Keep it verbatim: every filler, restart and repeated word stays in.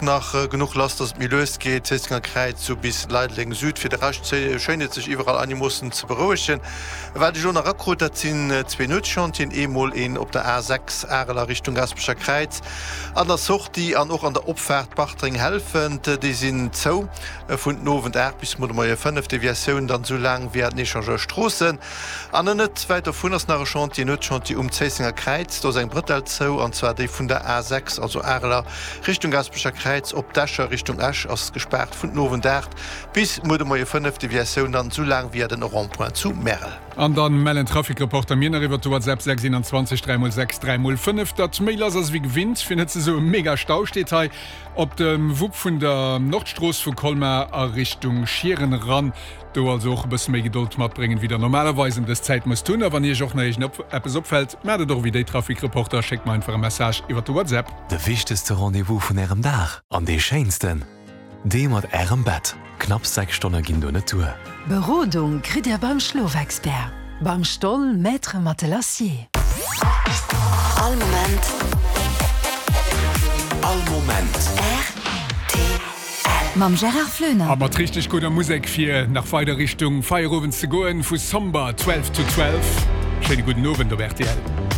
Nach genuch lass, dass et méi lues geet, Zéissenger Kräiz sou bis Leideleng Süd. Fir de Rescht schéint et sech iwwerall einemoossen ze berouegen. Wat ech elo nach erakrut, dat sinn zwee Nuetschantieren, eemol een op der A sechs Arel a Richtung Gaasperecher Kräiz an der Sortie an och an der Opfaart Bartreng-Helfent. Déi sinn zou vun den Owend aacht bis muer de Moie fënnef. Deviatioun dann esou laang via den Echangeur Stroossen. An net wäit dovun ass nach e Chantier, Nuetschantier um Zéissenger Kräiz. Do ass eng Brëtell zou, an zwar déi vun der A sechs, also Arel a Richtung Gaasperecher Kräiz op d'Escher Richtung Esch ass gespaart vun den Owend aacht bis muer de Moie fënnef. Deviatioun dann esou laang via den Rond-point zu Märel. An dann mellen d'Trafic-Reporter mir nach iwwert de WhatsApp sechs einundzwanzeg dräi mol sechs dräi mol fënnef, datt méi lass ass wéi gewinnt, fir net ze soe mega Stau steet hei op dem Wupp vun der Nordstrooss vu Colmar a Richtung Schieren eran. Do also och e bësse méi Gedold matbréngen, wéi der normalerweis ëm dës Zäit musst hunn. A wann iech och nach iergend eppes opfält, maacht et och wéi déi Trafic-Reporter, schéckt mer einfach e Message iwwert de WhatsApp. De wichtegste Rendez-vous vun Ärem Dag an dee schéinsten, dee mat Ärem Bett. Knapps sechs Stonne ginn do net duer. Berodung kritt Dir beim Schlofexpert, beim Stoll Maître Matelassier. All Moment. All Moment. Rtl. Mam Gérard Floener. A mat richteg gudder Musek fir nach weider Richtung Feierowend ze goen, vu Somber, twelve to twelve. Schéine gudden Owend op rtl.